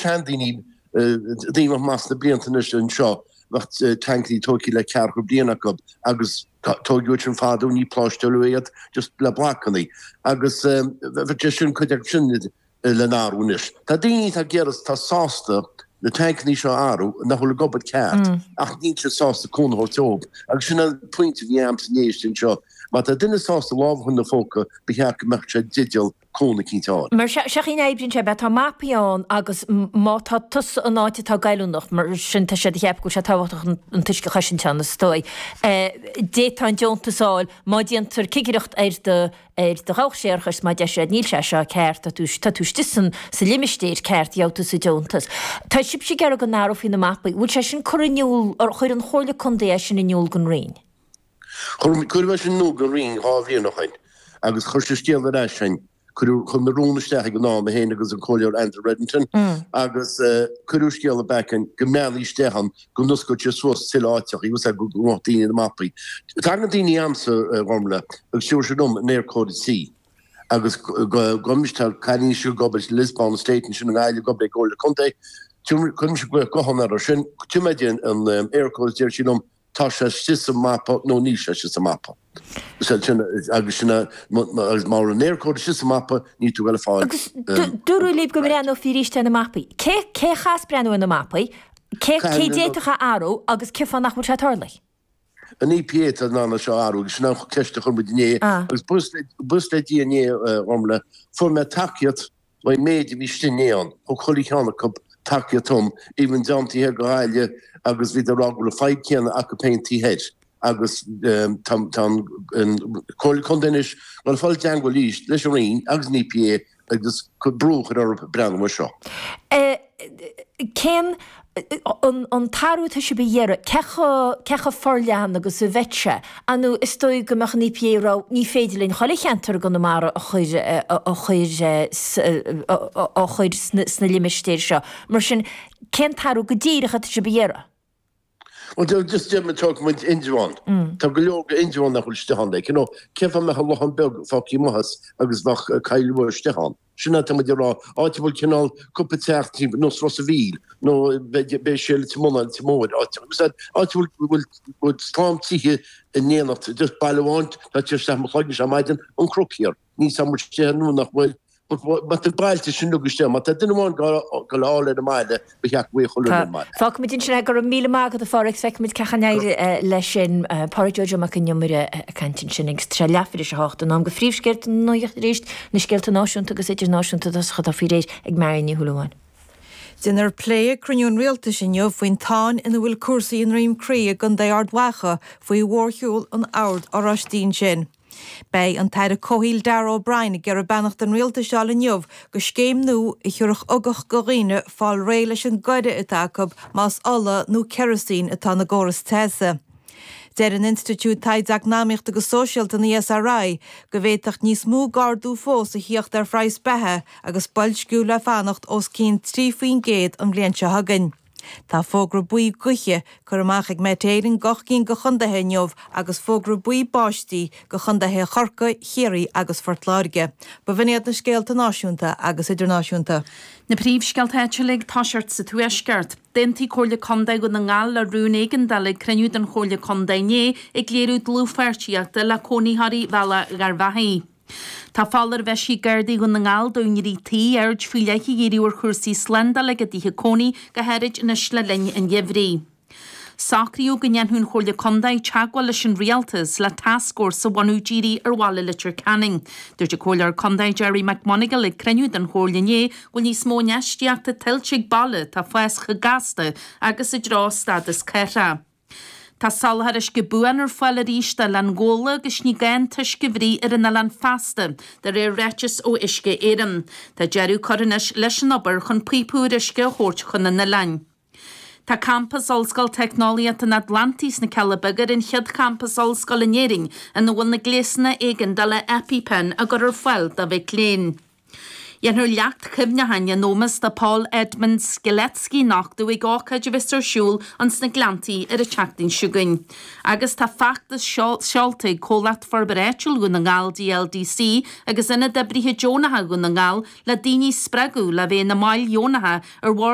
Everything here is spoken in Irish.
seandaoine, daoine a bheadh maith sna blianta anois anseo, bheadh tancannaí tógtha le ceathracha bliain acu agus tógadh iad sin fadó, ní pláisteáladh iad, just le blocannaí. Agus bheadh sé sin, cuid acu sin le n-athrú anois. Tá daoine atá ag iarraidh, atá sásta na tancannaí seo a athrú, nach bhfuil ag obair ceart, ach níl siad sásta cúnamh a thabhairt dóibh. Agus sin an pointe a bhí a'msa inné istigh anseo. Má tá duine sásta lámh a chur ina phóca, ba cheart go mbeadh sé i dteideal cúnamh eicínt a fháil. Mar seo an chaoi a n-oibríonn sé, beidh tá mapaí ann agus má tá tusa in áit atá goilliúnach, mar sin tá siad ag ceapadh go bhfuil sé tábhachtach an t-uisce a chosaint ann, is dóigh, d'fhéadfá an deontas a fháil má déantar cigireacht ar do ar do dhabhach séarachais má deir siad níl sé seo ceart, tá tú tá tú istigh san sa limistéir ceart, gheobhaidh tusa deontas. Tá sibhse ag iarraidh go n-athrófaí na mapaí, bhfuil sé sin curtha in iúl, ar chuir an Chomhairle Contae é sin in iúl don Roinn? Chuir, cuireadh é sin in iúl don Roinn 2 bhliain ó shoin agus chuir siad scéal ar ais chugainn. Cuireadh, chuir mé rún isteach ag an am, mé féin agus an Comhairleoir Andrew Reddington agus cuireadh scéala back chugainn go mbreathnófaí isteach ann, go n-osclódh siad suas tuilleadh áiteachaí, bhfuil a fhios agat, go mbeadh daoine ar na mapaí. Tagann daoine chugamsa, a Ghormfhlaith, agus tabharfaidh siad dom an Eircode tí agus go, tá cailín istigh ag obair sa Lisbawn Estate ansin i nGaillimh ag obair ag Comhairle Contae, cuirimse glaoch gutháin orthu sin, tabharfaidh mé di an Eircode is deir sí liom, tá sé istigh sa mapa nó níl sé istigh sa mapa. Sin agus sin agus má bhfuil an Eircode istigh sa mapa níl tú ag dul a fáil. Agus dúradh libh go mbreathnófaí arís ar na mapaí. Cé cé a chaithfeas breathnú ar na mapaí? Cé cé d'fhéadfadh a athrú agus cén fáth nach bhfuil sé tarlaithe? An EPA atá in ann é seo a athrú agus sin an cheist a chuir muid inné agus buíochas le Dia inné, a Ghormfhlaith, fuair mé tacaíocht An méid a bhí istigh inné ann, thug chuile cheann acu tacaíocht dom, even dream taobh thoir de Ghaillimh agus bhíodar ag rá go bhfuil an fadhb céanna acu féin taobh thoir agus tá an Comhairle Contae anois ag dul a fáil i dteangmháil arís leis an Roinn agus an EPA agus brú a chur orthu breathnú air seo. Cén an t-athrú atá sibh a iarraidh, cé chomh, cé chomh forleathan agus a bheidh sé? Ar ndóigh, is dóigh go mbeadh an EPA ag rá, ní féidir linn chuile cheantar i gConamara a chur, a chur, a chur sna limistéir seo. Mar sin, cén t-athrú go díreach atá sibh a iarraidh? Bhuel, just deir muid, tógfaidh muid Indreabhán. Tá go leor de Indreabhán nach bhfuil istigh ann, like, you know, cén fáth a mbeadh an Lochán Beag fágtha amuigh as agus bheadh Coill Rua istigh ann? Sin atá muid ag rá, áit a bhfuil cineál cúpla teach timpeall, nós Ros a' Mhíl, nó beidh sé Leitir Mealláin, Leitir Móir, áit, áit a bhfuil, bhfuil, bhfuil slám tithe in éineacht, just baile amháin, tá sé isteach i mo chloigeann ar maidin, an Cnoc Thiar. Níl 's a'm an bhfuil sé nó nach bhfuil, but má tá bailte sin uilig istigh, má tá duine amháin ag dul a fháil ar an mbaile, ba cheart go bhfaigheadh chuile dhuine ar an mbaile. Fágfaimid ansin é. Go raibh míle maith agat a Pháraic. Feicfimid cén chaoi a n-éireoidh leis sin. Páraic Joe Joe Mac an Iomaire ag caint ansin agus tá sé leathuair tar éis a hocht. In am do phríomhscéalta na nuachta arís, na scéalta náisiúnta agus idirnáisiúnta i dtosach atá faoi réir ag Marion Ní Shúilleabháin. Déanfar plé ag cruinniú an Rialtais inniu faoin tsáinn ina bhfuil cúrsaí i nDroim Crí i gContae Ard Mhacha faoi mhórshiúl an Oird Oráistigh ansin. Beidh an tAire Comhshaoil Darragh O'Brien ag iarraidh beannacht an Rialtais a fháil inniu do scéim nua a thiúrfadh ugach do dhaoine fáil réidh leis an gcoire atá acu más ola nó kerosene atá ina gcóras teasa. Deir an Institiúid Taighde Eacnamaíochta agus Sóisialta, an ESRI, go bhféadfadh níos mó d'ardú fós a thíocht ar phraghas beatha agus boilsciú le fanacht os cionn 3% an bhliain seo chugainn. Tá fógra buí gaoithe curtha amach ag Met Éireann d'ocht gcinn de chontaetha inniu agus fógra buí báistí do chontaetha Chorcaí, Chiarraí agus Phort Láirge. B'in iad na scéalta náisiúnta agus idirnáisiúnta. Na príomhscéalta áitiúla ag toiseacht sa Tuaisceart. D'aontaigh Comhairle Contae Dhún na nGall le rún éigeandála ag cruinniú den Chomhairle Contae inné ag léiriú dlúthpháirtíochta le cónaitheoirí Bhealach Gharbhachaidh. Tá foláireamh eisithe ag Gardaí Dhún na nGall d'úinéirí tí aird faoi leith a dhíriú ar chúrsaí slándála ag a dtithe cónaí, go háirid anois le linn an gheimhridh. Socraíodh go ndéanfadh an Chomhairle Contae teagmháil leis an Rialtas le tascfhórsa a bhunú dírithe ar bhaile Leitir Ceanainn. Dúirt an Comhairleoir Contae Gerry McMonagall ag cruinniú den Chomhairle inné go bhfuil níos mó infheistíochta tuillte ag baile atá ag fás chomh gasta agus i dtreo stádas cathrach. Tá soláthar uisce buan ar fáil arís d'Oileán Ghabhla agus ní gá an t-uisce a bhruith ar an oileán feasta, de réir ráiteas ó Uisce Éireann. Tá deireadh curtha anois leis an obair chun píopa úr uisce a thabhairt chun an oileáin. Tá campas Ollscoil Teicneolaíochta an Atlantaigh sna Cealla Beaga ar an chéad champas ollscoile in Éirinn ina bhfuil na gléasanna éigeandála EpiPen á gcur ar fáil do mhic léinn. Déanfar leacht cuimhneacháin in ómós do Paul Edmund Strzelecki a nochtadh ag ócáid a bheas ar siúl ins na Gleanntaí ar an tseachtain seo chugainn. Agus tá feachtas seolta ag Comhlacht Forbartha Áitiúil Dhún na nGall, DLDC, agus Ionad Oibrithe Deonacha Dhún na nGall le daoine a spreagadh le bheith ina mbaill dheonacha ar bhord.